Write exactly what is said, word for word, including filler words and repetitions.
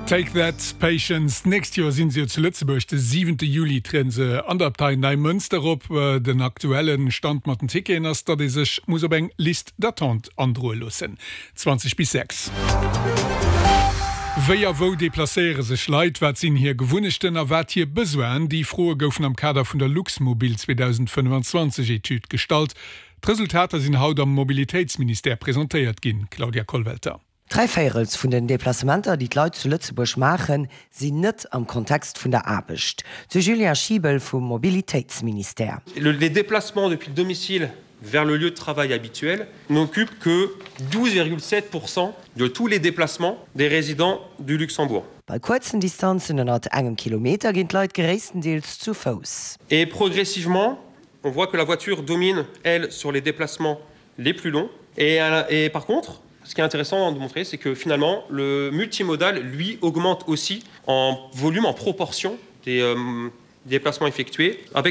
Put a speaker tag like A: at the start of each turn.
A: Take That, Patience. D'nächst Joer sinn se jo zu Lëtzebuerg, de siwente Juli trieden se an der Abtei Neimënster op. Den aktuelle Stand mat den Ticketen ass, datt ee sech muss op eng Liste d'attente androe loossen. zwanzeg bis sechs. Wéi a wou deplacéiere sech Leit, wat sinn hir Gewunnechten a wat hir Besoinen? Déi Froe goufen am Kader vun der Luxmobil zweedausendfënnefanzwanzeg Etüd gestallt. D'Resultater sinn haut am Mobilitéitsministère presentéiert ginn. Claudia Kollwelter.
B: Dräi Véierels vun den Deplacementer, déi d'Leit zu Lëtzebuerg maachen, sinn net am Kontext vun der Aarbecht, de Julien Schiebel vum Mobilitéitsministère.
C: Les déplacements depuis le domicile vers le lieu de travail habituel n'occupent que douze virgule sept pour cent de tous les déplacements des résidents du Luxembourg.
B: Bei kuerzen Distanzen ënnert engem Kilometer ginn d'Leit gréisstendeels zu Fouss.
C: Et progressivement, on voit que la voiture domine, elle, sur les déplacements les plus longs. Et, et par contre, ce qui est intéressant de montrer, c'est que finalement, le multimodal, lui, augmente aussi en volume, en proportion des euh, déplacements effectués, avec